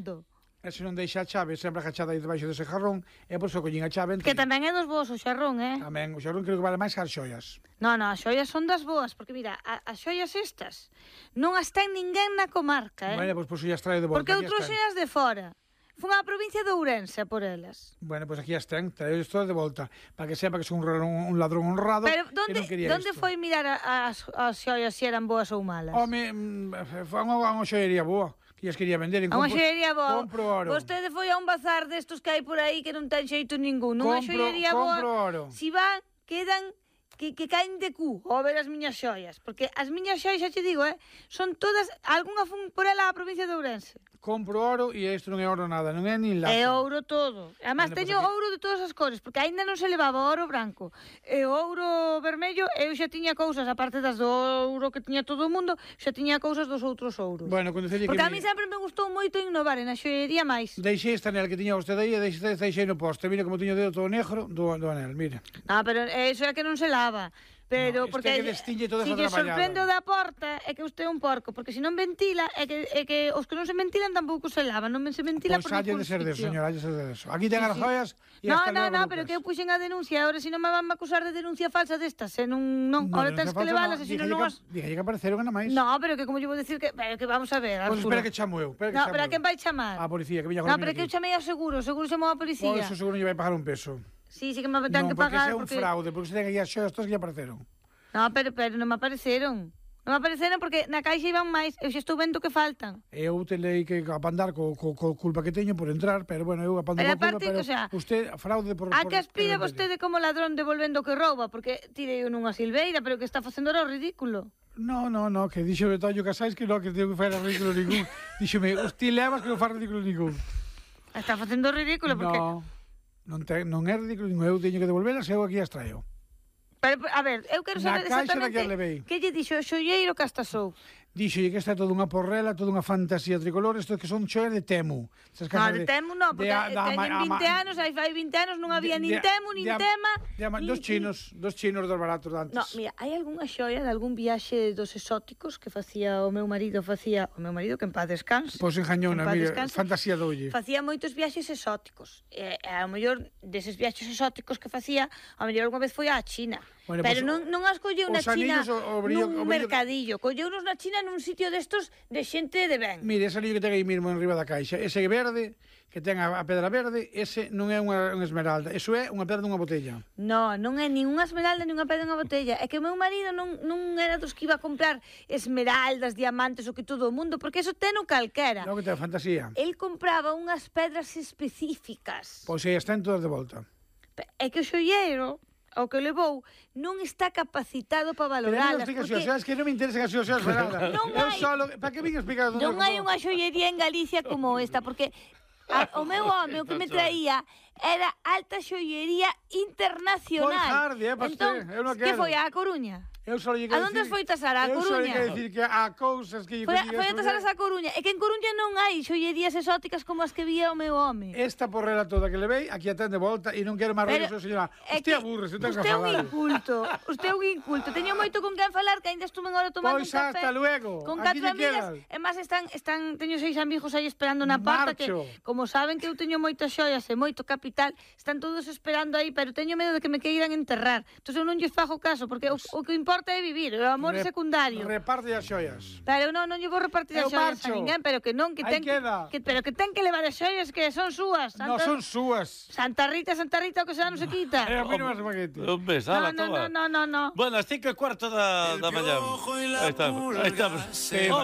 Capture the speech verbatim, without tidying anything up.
saldo. E se non deixa a chave sempre agachada aí debaixo dese jarrón, e por iso collín a chave. Que tamén é dos boas o xarrón, eh? Tamén, o xarrón creo que vale máis que as xoias. Non, non, as xoias son das boas, porque mira, a, as xoias estas non as ten ninguén na comarca, eh? Bueno, pois pues, por iso as trae de volta. Porque outros xoias de fora. Fun á provincia de Ourense por elas. Bueno, pois pues aquí as ten, trae todas de volta, para que sepa que son un, un ladrón honrado. Pero donde, que non quería donde isto. foi mirar a, as, as xoias se eran boas ou malas? Home, mm, foi unha, unha xoiería boa. Que as quería vender en a unha xoiería boa. Compro oro. Vostede foi a un bazar destos que hai por aí que non ten xeito ningún. Unha xoiería boa. Compro oro. Si van, quedan que, que caen de cu ao ver as miñas xoias. Porque as miñas xoias, xa te digo, eh, son todas, algunha fun por ela a provincia de Ourense. Compro oro e isto non é oro nada, non é nin lata. É ouro todo. Además, bueno, teño pues aquí... ouro de todas as cores, porque aínda non se levaba ouro branco. E ouro vermello, eu xa tiña cousas, aparte das do ouro que tiña todo o mundo, xa tiña cousas dos outros ouros. Bueno, cando que porque a mí sempre me gustou moito innovar en a xoiería máis. Deixei esta anel que tiña vostede aí e deixei, deixei no poste. Mira como tiño o dedo todo negro do, do anel, mira. Non, pero eso é que non se lava. Pero no, porque que destiñe toda si esa lle sorprende o da porta é que usted é un porco, porque se non ventila é que, é que os que non se ventilan tampouco se lavan, non se ventila pues por ningún de ser de sitio. señora, de ser de eso. Aquí ten sí, as joias sí. e no, hasta no, no, pero que eu puxen a denuncia, ahora si non me van a acusar de denuncia falsa destas, eh, non, non, no, ahora no, tens que leválas, no, e si non non as... Dije que apareceron nada máis. No, pero que como lle vou decir que, pero que vamos a ver, Arturo. Pues espera que chamo eu, espera que no, chamo pero a quen vai chamar? A policía, que viña con No, pero que eu chamei ao seguro, o seguro chamou a policía. Por eso seguro lle vai pagar un peso. Sí, sí que me ten no, que pagar. Non, porque é un fraude, porque se ten aí as xoias todas que lle apareceron. No, pero, pero non me apareceron. Non me apareceron porque na caixa iban máis. Eu xa estou vendo que faltan. Eu telei que apandar co, co, co culpa que teño por entrar, pero bueno, eu apando pero co culpa, pero o sea, usted fraude por... A por, que aspira vostede como ladrón devolvendo o que rouba, porque tirei nunha silveira, pero que está facendo era o ridículo. No, no, no, que dixo Betoño Casais que non, que tengo que fazer ridículo ningún. Díxome, usted levas que non faz ridículo ningún. Está facendo ridículo porque... No, non, te, non é ridículo ningún, eu teño que devolvelas e eu aquí as traio. Pero, a ver, eu quero saber exactamente que lle dixo o xoieiro que astasou. Dixolle que esta é toda unha porrela, toda unha fantasía tricolor, isto que son xoias de Temu. No, de, de Temu non, porque de, da, teñen vinte anos, aí fai vinte anos non había nin Temu, nin de, Tema. De, de, dos chinos, dos chinos dos baratos de antes. No, mira, hai algunha xoia de algún viaxe dos exóticos que facía o meu marido, facía o meu marido que en paz descanse. Pois engañona, mira, fantasía doulle. Facía moitos viaxes exóticos. E ao mellor deses viaxes exóticos que facía, ao mellor algunha vez foi á China. Bueno, pero pues, non, non as colleu na China o, o brillo, nun o brillo, mercadillo, colleunos na China nun sitio destos de xente de ben. Mire, ese anillo que ten aí mesmo en riba da caixa, ese verde, que ten a, a pedra verde, ese non é unha, unha esmeralda, eso é unha pedra dunha botella. No, non é nin unha esmeralda nin unha pedra dunha botella, é que o meu marido non, non era dos que iba a comprar esmeraldas, diamantes, o que todo o mundo, porque eso ten o calquera. Non, que ten fantasía. El compraba unhas pedras específicas. Pois aí están todas de volta. É que o xoieiro o que levou non está capacitado para valoralas. Pero non porque... xas, que non me interesan as xas, verdad? Non hai... Solo... Para que vin explicar? Non hai unha xollería en Galicia como esta, porque a, o meu home, o que me traía, era alta xollería internacional. Foi harde, eh, para entón, eu non quero. Que foi, a Coruña? Eu só lle a onde foi tasar? A eu Coruña? Eu só lle dicir que há cousas que... Foi, foi a tasar a Coruña. É que en Coruña non hai xollerías exóticas como as que vía o meu home. Esta porrela toda que levei, aquí a ten de volta e non quero máis rollo, señora. Usted aburre, se ten que falar. Usted é un inculto. Usted é un inculto. Teño moito con quen falar, que ainda estuve agora tomando pois un café. Pois hasta luego. Con catro amigas. E máis están, están, teño seis amigos aí esperando na porta que, como saben que eu teño moitas xoias e moito capital, están todos esperando aí, pero teño medo de que me queiran enterrar. Entón eu non lles fago caso, porque o, o que importa é vivir. O amor Re, secundario. Reparte as xoias. Pero non, non lle vou repartir as xoias a ninguén, pero que non, que ten que, que pero que ten que levar as xoias que son súas. Santa, no son súas. Santa Rita, Santa Rita, o que xa non se quita. É a mí non me espaguete. Un beso, ala, no, no, no, no, no. Bueno, as cinco e cuarto da, da mañá. Aí estamos, aí estamos.